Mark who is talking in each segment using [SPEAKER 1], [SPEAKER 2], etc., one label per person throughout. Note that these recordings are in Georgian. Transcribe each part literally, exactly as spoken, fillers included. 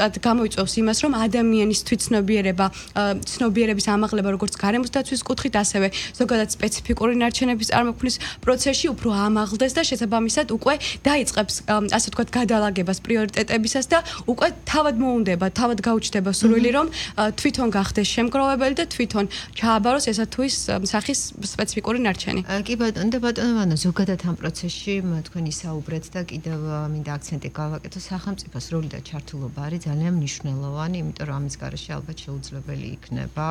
[SPEAKER 1] გამოიწვევს იმას, რომ ადამიანის თვითცნობიერება, ცნობიერების ამაღლება როგორც გარემოს დაცვის კუთხით, ასევე ზოგადად სპეციფიკური ნარჩენების წარმოქმნის პროცესში უფრო ამაღლდეს და შესაბამისად უკვე დაიწყებს ასე ვთქვათ გადალაგებას პრიორიტეტებისას და უკვე თავად მოუნდება, თავად გაუჩნდება სურვილი, რომ თვითონ გახდეს შემგროვებელი და თვითონ ჩააბაროს ესა თუ ის სახის სპეციფიკური ნარჩენი.
[SPEAKER 2] კი ბატონო, და ბატონო ვანო, ზოგადად ამ პროცესში თქვენ ისაუბრეთ და კიდევ მინდა აქცენტი გავაკეთო, სახელმწიფოს როლი და ჩართულობა არის ძალიან მნიშვნელოვანი, იმიტომ რომ ამის გარეშე ალბათ შეუძლებელი იქნება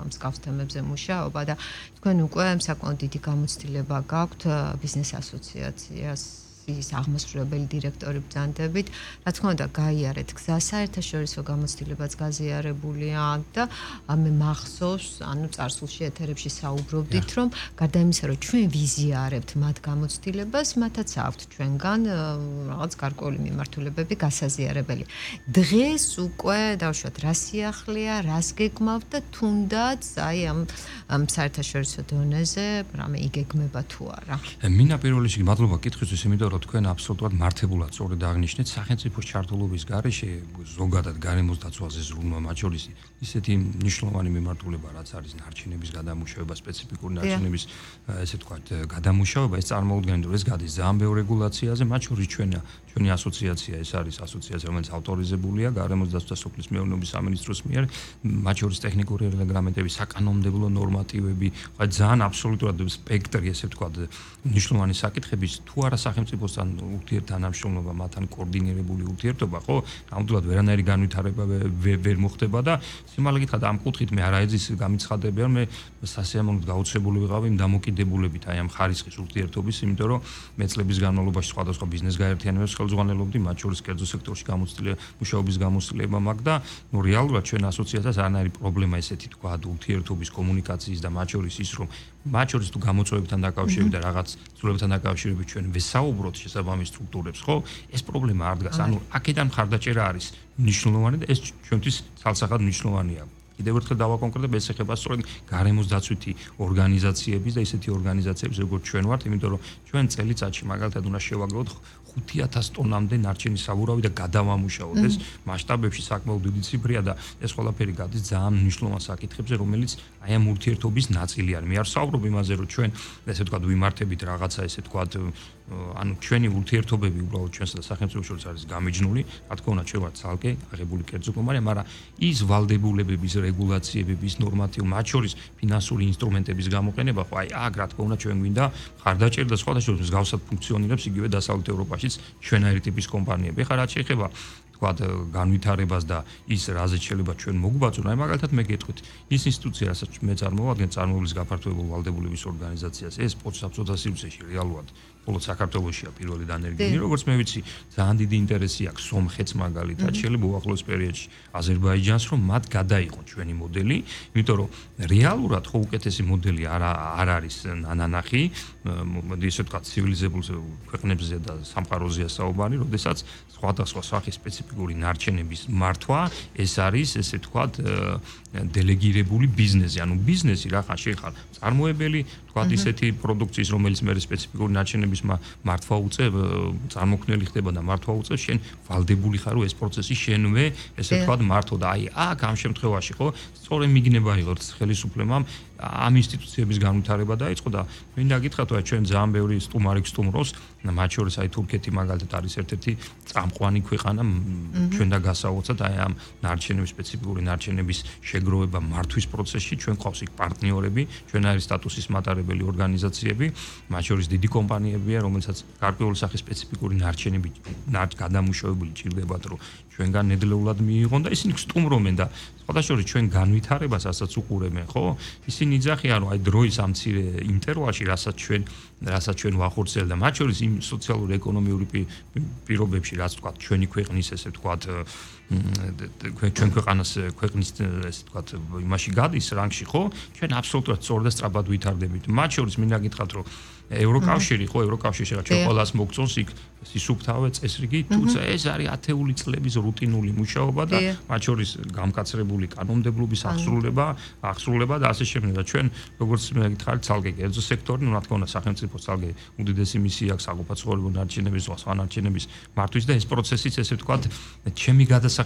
[SPEAKER 2] მსგავს თემებზე მუშაობა და თქვენ უკვე საკმაოდ დიდი გამოცდილება გაქვთ ბიზნეს ასოციაციას ის აღმასრულებელი დირექტორი ბრძანდებით, რა თქმა უნდა, გაიარეთ გზა, საერთაშორისო გამოცდილებაც გაზიარებულია და მე მახსოვს, ანუ წარსულში ეთერებში საუბრობდით, რომ გარდა იმისა, რომ ჩვენ ვიზიარებთ მათ გამოცდილებას, მათაც აქვთ ჩვენგან რაღაც გარკვეული მიმართულებები გასაზიარებელი. დღეს უკვე დავუშვათ, რა სიახლეა, რას გეგმავთ და თუნდაც აი ამ საერთაშორისო დონეზე რამე იგეგმება თუ არა.
[SPEAKER 3] მინა პირველ რიგში მადლობა კითხვისთვის, იმიტომ თქვენ აბსოლუტურად მართებულად სწორედ აღნიშნეთ სახელმწიფოს ჩართულობის გარეშე ზოგადად გარემოს დაცვაზე ზრუნვა მათ შორის ისეთი მნიშვნელოვანი მიმართულება რაც არის ნარჩენების გადამუშავება სპეციფიკური ნარჩენების ესე ვთქვათ გადამუშავება ეს წარმოუდგენელი რომ ეს გადის ძალიან ბევრ რეგულაციაზე მათ შორის ჩვენი ჩვენი ასოციაცია ეს არის ასოციაცია რომელიც ავტორიზებულია გარემოს დაცვა და სოფლის მეურნეობის სამინისტროს მიერ მათ შორის ტექნიკური რეგლამენტები საკანონმდებლო ნორმატივები ძალიან აბსოლუტურად სპექტრი ესე ვთქვათ მნიშვნელოვანი საკითხების თუ არა სახელმწიფოს ან ურთიერთთანამშრომლობა, მათთან კოორდინირებული ურთიერთობა, ხო? ნამდვილად ვერანაირი განვითარება ვერ მოხდება და სიმართლე გითხრათ ამ კუთხით მე არაეძის გამიცხადებია, მე სასიამოვნოდ გაუცხებული ვიყავი იმ დამოკიდებულებით აი ამ ხარისხის ურთიერთობის, იმიტომ რომ მე წლების განმავლობაში სხვადასხვა ბიზნეს გაერთიანებებს ხელმძღვანელობდი, მათ შორის კერძო სექტორში გამოცდილება, მუშაობის გამოცდილება მაქვს და ნუ რეალურად ჩვენ ასოციაციას არანაირი პრობლემა ესეთი თქვა ურთიერთობის, კომუნიკაციის და მათ შორის ის რომ მათ შორის თუ გამოწვევებთან დაკავშირებით და რაღაც ცვლილებებთან დაკავშირებით ჩვენ ვესაუბროთ შესაბამის სტრუქტურებს, ხო? ეს პრობლემა არ დგას. ანუ აქედან მხარდაჭერა არის მნიშვნელოვანი და ეს ჩვენთვის ცალსახად მნიშვნელოვანია. კიდევ ერთხელ დავაკონკრეტებ, ეს ეხება სწორედ გარემოს დაცვითი ორგანიზაციების და ისეთი ორგანიზაციების, როგორც ჩვენ ვართ, იმიტომ რომ ჩვენ წელიწადში მაგალითად უნდა შევაგროვოთ ხუთი ათას ტონამდე ნარჩენის საბურავი და გადავამუშავოთ. ეს მასშტაბებში საკმაოდ დიდი ციფრია და ეს ყველაფერი გადის ძალიან მნიშვნელოვან საკითხებზე, რომელიც აი ამ ურთიერთობის ნაწილი არის. მე არ ვსაუბრობ იმაზე, რომ ჩვენ ესე ვთქვათ ვიმართებით რაღაცა ესე ვთქვათ ანუ ჩვენი ურთიერთობები უბრალოდ ჩვენსა და სახელმწიფოს შორის არის გამიჯნული, რა თქმა უნდა, ჩვენ ვართ ცალკე აღებული კერძო კომპანია, მაგრამ ის ვალდებულებების რეგულაციებების ნორმატივ მათ შორის ფინანსური ინსტრუმენტების გამოყენება, ხო აი აქ რა თქმა უნდა ჩვენ გვინდა მხარდაჭერა და სხვადასხვა მსგავსად ფუნქციონირებს იგივე დასავლეთ ევროპაშიც ჩვენაირი ტიპის კომპანიები. ეხლა რაც შეეხება ვთქვათ განვითარებას და ის რაზეც შეიძლება ჩვენ მოგვბაწონ, აი მაგალითად მე გეტყვით, ის ინსტიტუცია, რასაც მე წარმოვადგენ, წარმოებლის გაფართოებულ ვალდებულების ორგანიზაციას, ეს პოწსაბჭოთა სივრცეში რეალურად მხოლოდ საქართველოშია პირველი დანერგილი, როგორც მე ვიცი, ძალიან დიდი ინტერესი აქვს სომხეთს მაგალითად, შეიძლება უახლოეს პერიოდში აზერბაიჯანს, რომ მათ გადაიღონ ჩვენი მოდელი, იმიტომ რომ რეალურად ხო უკეთესი მოდელი არ არ არის ნანახი, მოდი ესე ვთქვათ, ცივილიზებულ ქვეყნებზე და სამყაროზეა საუბარი, როდესაც სხვადასხვა სახის სპეციფიკური ნარჩენების მართვა, ეს არის ესე ვთქვათ, დელეგირებული ბიზნესი, ანუ ბიზნესი რა ხან შეიძლება წარმოებელი, ვთქვათ, ისეთი პროდუქციის, რომელიც მე სპეციფიკური ნარჩენების მართვა უწევ, წარმოქმნელი ხდება და მართვა უწევ, შენ ვალდებული ხარ, რომ ეს პროცესი შენვე, ესე ვთქვათ, მართო და აი აქ ამ შემთხვევაში ხო, სწორედ მიგნება იღოთ ხელისუფლებამ ამ ინსტიტუციების განვითარება დაიწყო და მინდა გითხრათ, რომ ჩვენ ძალიან ბევრი სტუმარი გსტუმრობს, მათ შორის აი თურქეთი მაგალითად არის ერთ-ერთი წამყვანი ქვეყანა ჩვენ და გასაოცად აი ამ ნარჩენების სპეციფიკური ნარჩენების შეგროვება მართვის პროცესში, ჩვენ ყავს იქ პარტნიორები, ჩვენაირი სტატუსის მატარებელი ორგანიზაციები, მათ შორის დიდი კომპანიებია, რომელსაც გარკვეული სახის სპეციფიკური ნარჩენები გადამუშავებული ჭირდებათ, რომ ჩვენგან ნედლეულად მიიღონ და ისინი გსტუმრობენ და სხვადასხვა ჩვენ განვითარებას ასაც უყურებენ, ხო? ისინი იძახიან, რომ აი დროის ამ მცირე ინტერვალში, რასაც ჩვენ რასაც ჩვენ ვახორციელდა, მათ შორის იმ სოციალური ეკონომიური პირობებში, რაც ვთქვათ, ჩვენი ქვეყნის ესე ვთქვათ, ჩვენ ქვეყანას ქვეყნის ესე ვთქვათ, იმაში გადის რანგში, ხო? ჩვენ აბსოლუტურად სწორ და სწრაფად ვითარდებით. მათ შორის მინდა გითხრათ, რომ ევროკავშირი, ხო, ევროკავშირი რა ჩვენ ყველას მოგწონს იქ სისუფთავე წესრიგი, თუმცა ეს არის ათეული წლების რუტინული მუშაობა და მათ შორის გამკაცრებული კანონმდებლობის აღსრულება, აღსრულება და ასე შემდეგ. და ჩვენ როგორც მე გითხარით, ცალკე კერძო სექტორი, ну, რა თქმა უნდა, სახელმწიფო ცალკე უდიდესი მისია აქვს საგუფაცხოვრებო ნარჩენების, სხვა ნარჩენების მართვის და ეს პროცესიც ესე ვთქვათ, ჩემი გადასახადებით